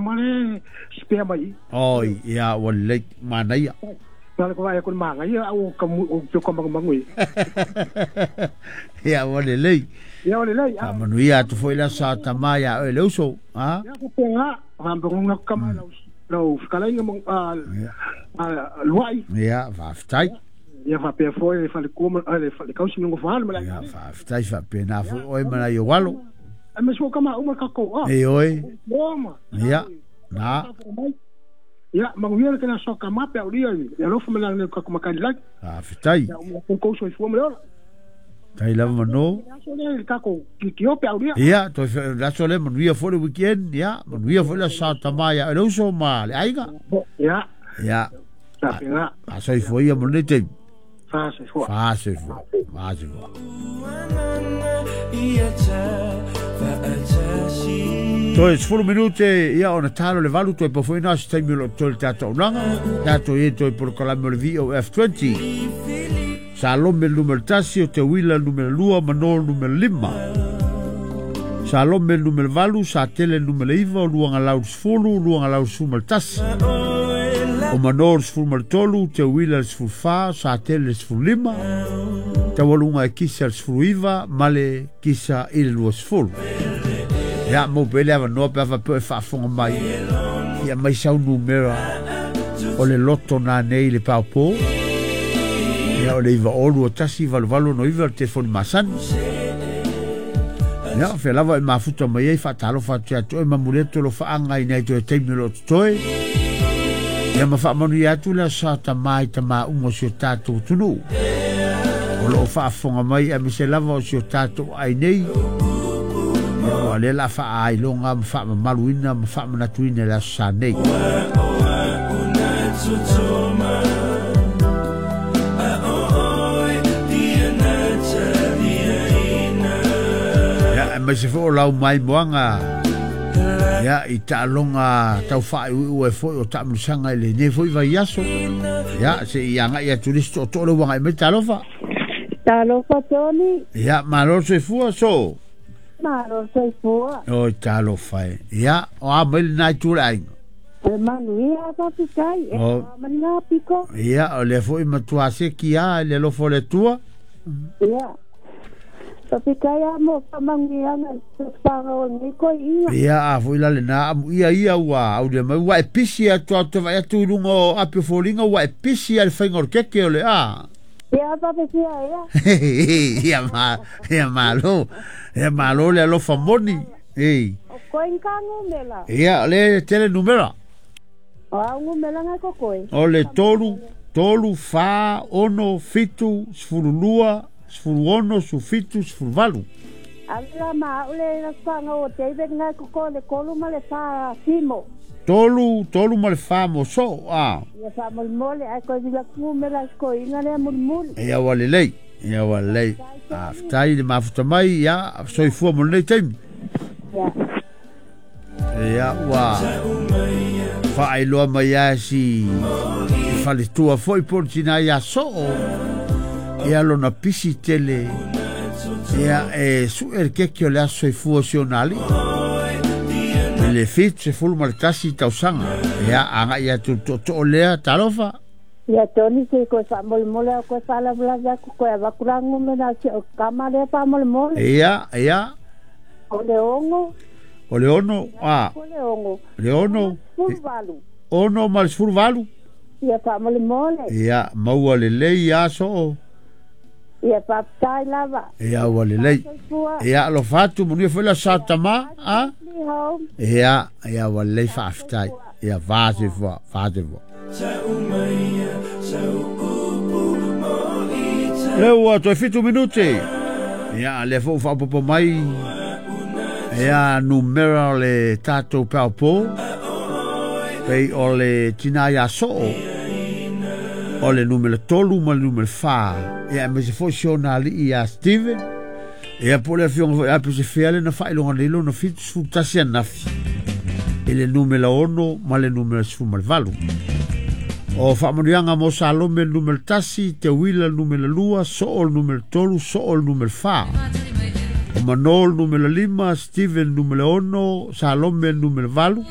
kamale spea mai. Oi, ia ua lelei, manaia. Na le ko ai ko manga ia au ka o pe ka mangu e. Ia ua lelei. Ia ua lelei. Faamanuia atu foi le aso sa tamā iā oe le uso, a? Ia ko nga, fa ka ma lau lau fetalaiga luai. Ia, faafetai. Ia faapea foi le falekua ma le falekausi ma le gofaalo ma le Ia, faafetai faapena foi oe ma nai ou alo. Ai ma sua kama uma kako. E oe. Oma. Ia, na. Ia, manuia le kena soka mape au lia i alofa ma le kako makani lagi. Faafetai. Ia, uma kou soifua ma le ola. Tai lava mano. Aso le le kako kikiope au lia. Ia, toi aso le manuia foi le weekend, ia, manuia foi le sa tamā ia le uso ma le aiga. Ia. Ia. Sa A soifua ia mo lenei taimi. Fasoifua. Fasoifua. Fasoifua. Toe 10 minute ia ona talo le 8 toe pau foi na se taimi o lo o toe le tatou aunaga. Tatou i ai toe polokalame o le VOF20. Salome numera 1, o Te Uila numera 2, Mano numera 5. Salome numera 8, Satele numera 9, o Luagalau 10, Luagalau 11. O Mano 13, Te Uila 14, Satele 15. Taualuga e kisa le 19, ma le kisa i le 20. Ia, mau pe le avanoa pe a faapea e faafofoga mai. Ia mai sau numera o le loto nanei i le paopō. Ia o le 9 2 1 8 8 6 9 le telefoni masani. Ia, fea lava e mafuta mai ai faatalofa atu ia te oe ma momoli atu alofaaga i nai toe taimi o lo o totoe. Ia ma faamanuia atu le aso sa tamā i tamā uma o si o tatou atunuu o lo o faafofoga mai aemaise lava o si o tatou ai nei. Ia ua lea la faaailoga ma faamamaluina ma faamanatuina i le aso sa nei. Ia, aemaise foi o lau maimoaga ia i taaloga tau faaiuiu ai foi o taamilosaga i lenei foi vaiaso. Ia, se i agai atu le isi tootoo lea ua agai mai talofa. Talofa Tony. Ia, malo le soifua so. Malo le soifua. Oi talofa e. Ia, o a mai lena itu o le aiga. E manuia faafetai e O. ma ni ngā piko. Ia, o lea foi matua seki lava i le alofa o le Atua. Ia. Faafetai lava mo faamanuiaga i tausaga o lenei koi'iga. Ia, a foi la lena amuia ia ua aulia mai ua e pisi atu au te vaai atu i luga o api o foliga ua e pisi lava i le faiga o le keke o le a. Ia faafefea ea. Ia ma, ia malo, ia malo le alofa moni. Ei. O koe ka numera. Ia, o le tele numera. O au numera ngai ko koe. O le 3, 3, 4, 6, 7, 12, 16, 17, 18. Ave la ma au le la whanga o David ngai ko koe le 3 ma le 4 simo. 3, 3 ma le 4 mo so, a. Ia faamolemole ae koe vila numera koiga lea mulimuli. Ia ua lelei, ia ua lelei. Faafetai le mafuta mai, ia, soifua mo lenei taimi. Ia. Ia ua faailoa mai lava si i faletua foi po o le tinā iā Soo ia lona pisi tele ia e su'e le keke o le aso soifua o si ona alii i le 71 tausaga. Ia agai atu i le tootoo lea talofa. Ia Tony se koe faamolemole au koe faalavelave atu koe avatu la numera si o kama lea faamolemole. Ia, ia. O le 6. O le 6, a. O le 6. Le 6. 18. 6 ma le 18. Ia faamolemole. Ia, maua lelei ia Soo. Ia faafetai lava. Ia ua lelei. Soifua. Ia alofa atu manuia foi le aso sa tamā, a. Home. Ia, ia ua lelei faafetai. Ia fasoifua, fasoifua. Lea ua toe 7 minute. Ia, lea foi ua faaopoopo mai ia numera o le tatou paopō. Pei o le tinā iā Soo o le numera 3 ma le numera 4. Ia, aemaise foi si ona alii iā Steven. Ia po o le afioga foi ia Pesefea le na faailoga nei lona 71 ananafi i le numera 6 ma le numera 18. O faamanuiaga mo Salome le numera 1, Te Uila le numera 2, Soo le numera 3, Soo le numera 4. O Mano le numera 5, Steven le numera 6, Salome le numera 8.